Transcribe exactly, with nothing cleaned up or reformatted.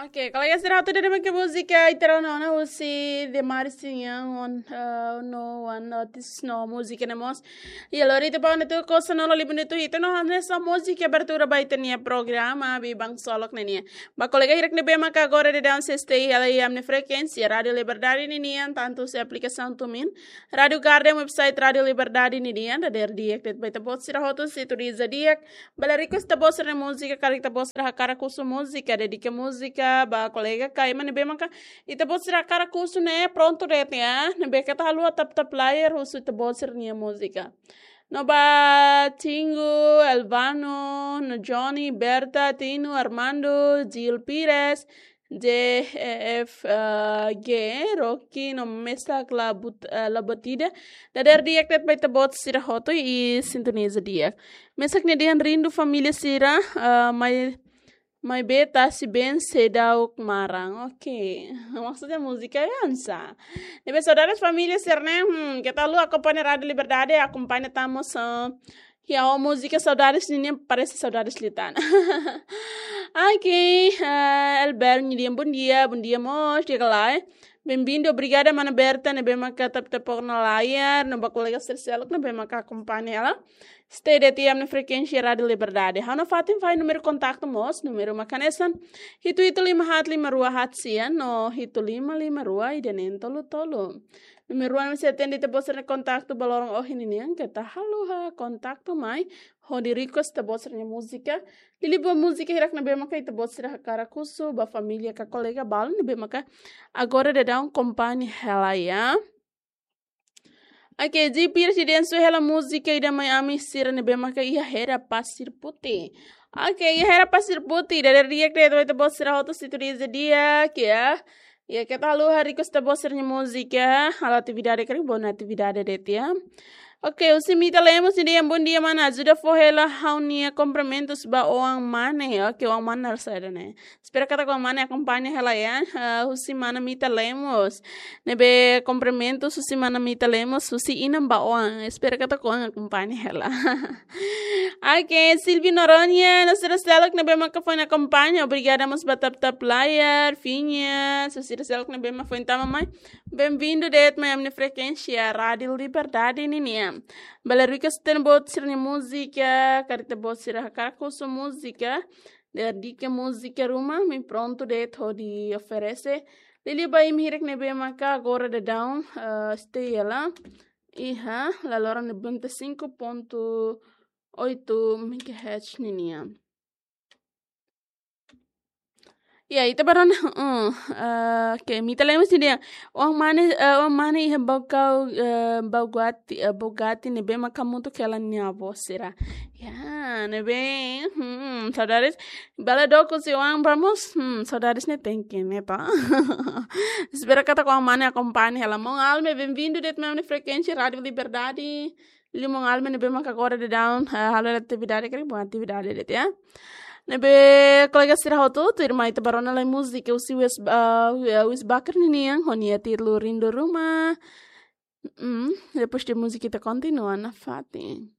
Oke, kolega sira hotu, ida-ne'e mak múzika ita rona ona husi Demaris nian, on, eh, no one notice no múzika ne'e mós. Iha loron ida ba ne'e tuku, sanulu libu ne'e tuku, ita no hanesan múzika abertura ba ita-nia programa Biban Ksolok ne'e nian. Ba kolega hirak ne'ebé maka agora daudaun sei stay hela iha ami-nia frekuénsia Rádiu Liberdade ninian, tantu husi aplikasaun TuneIn, Rádiu Garden, website Rádiu Liberdade ninian, dadeer di'ak de'it ba ita-boot sira hotu, sintoniza di'ak. Bele request ita-boot sira-nia múzika, karik ita-boot sira hakarak husu múzika, dedika múzika ba kolega ka ema ne'ebé maka ita-boot sira hakarak husu ne'e, prontu de'it ya. Ne'ebé keta haluha tap-tap layar, husu ita-boot sira-nia múzika. No ba Tingo, Elvano, no Johnny, Berta, Tino, Armando, Gil Pires, J F, eh, G, Rocky, no Mesak Labut-, eh, Labotida. Dadeer di'ak de'it ba ita-boot sira hotu i sintoniza di'ak. Mesak ne'e dehan rindu família sira, eh, mai, mai beta si ben sedau kemarin. Oke. Maksudnya múzika ya, ansa. Ne'ebé saudades família sira ne'e, hmm, keta haluha akompaña Rádiu Liberdade, akompaña tamos, eh, ya, o múzika saudades ninian, parese saudades liután. Oke, eh, Elber nia dehan bom dia, bom dia mós, di'ak ka lae. Bem-vindo, obrigada mana Berta ne'ebé maka tap-tap ona layar, no ba kolega sira seluk ne'ebé maka akompaña hela. Stay de'it iha ami-nia frekuénsia Rádiu Liberdade. Ha'u-nia fatin fali númeru kontaktu mós, númeru mak hanesan hitu hitu lima haat lima rua haat sia, no hitu lima lima rua ida neen tolu tolu. Númeru ne'e sei atende ita-boot sira-nia kontaktu ba loron ohin ninian, keta haluha kontaktu mai hodi request ita-boot sira-nia múzika. Liuliu ba múzika hirak ne'ebé maka ita-boot sira hakarak husu ba família ka kolega balu ne'ebé maka agora daudaun akompaña hela ya. Oke, G P Residência hela múzika ida mai ami sira ne'ebé maka iha Hera Pasir Putih. Oke, iha Hera Pasir Putih, dadeer di'ak de'it ba ita-boot sira hotu, sintoniza di'ak ya. Ya, keta haluha request ita-boot sira-nia múzika, halo atividade karik, boot atividade de'it ya. Oke, husi Mita Lemos nia dehan bom dia mana, ajuda fó hela ha'u-nia kumprimentus ba oan mane. Oke, oan mane na'in-rua ne'e. Espera katak oan mane akompaña hela ya. Ah, husi mana Mita Lemos. Ne'ebé kumprimentus husi mana Mita Lemos, husi inan ba oan. Espera katak oan akompaña hela. Oke, Silvio Noronha, no sira seluk ne'ebé maka foin akompaña. Obrigada mós ba tap-tap layar, Finha, no sira seluk ne'ebé maka foin tama mai. Bem-vindo de'it mai ami-nia frekuénsia Rádiu Liberdade ninian. Bele request ita-boot sira-nia múzika, karik ita-boot sira hakarak husu múzika, dedika múzika ruma, ami prontu de'it hodi oferese. Liuliu ba imi hirak ne'ebé maka agora daudaun, eh, stay hela iha laloran noventa e cinco ponto oito megahertz ninian. Ya, ita bá rona, uh, eh, oke, Mita Lemos nia dehan, oan mane, eh, oan mane iha Baucau, eh, Bauguati, eh, Bauguati ne'ebé maka hamutuk hela nia avó sira. Ya, ne'ebé, hmm, saudades. Bele dook husi oan ba mós, hmm, saudades ne'e tenke ne'e to. Espera katak oan mane akompaña hela. Maun Alme, bem-vindo de'it mai ami-nia frekuénsia Rádiu Liberdade. Liuliu maun Alme ne'ebé maka agora daudaun, eh, halo atividade karik, boot atividade de'it ya. Ne'ebé kolega sira hotu, tuirmai ita bá rona lai múzika husi Wes, eh, Wes Baker ninian, ho nia títulu Rindu Ruma. Mm, depois de múzika ita kontinua nafatin.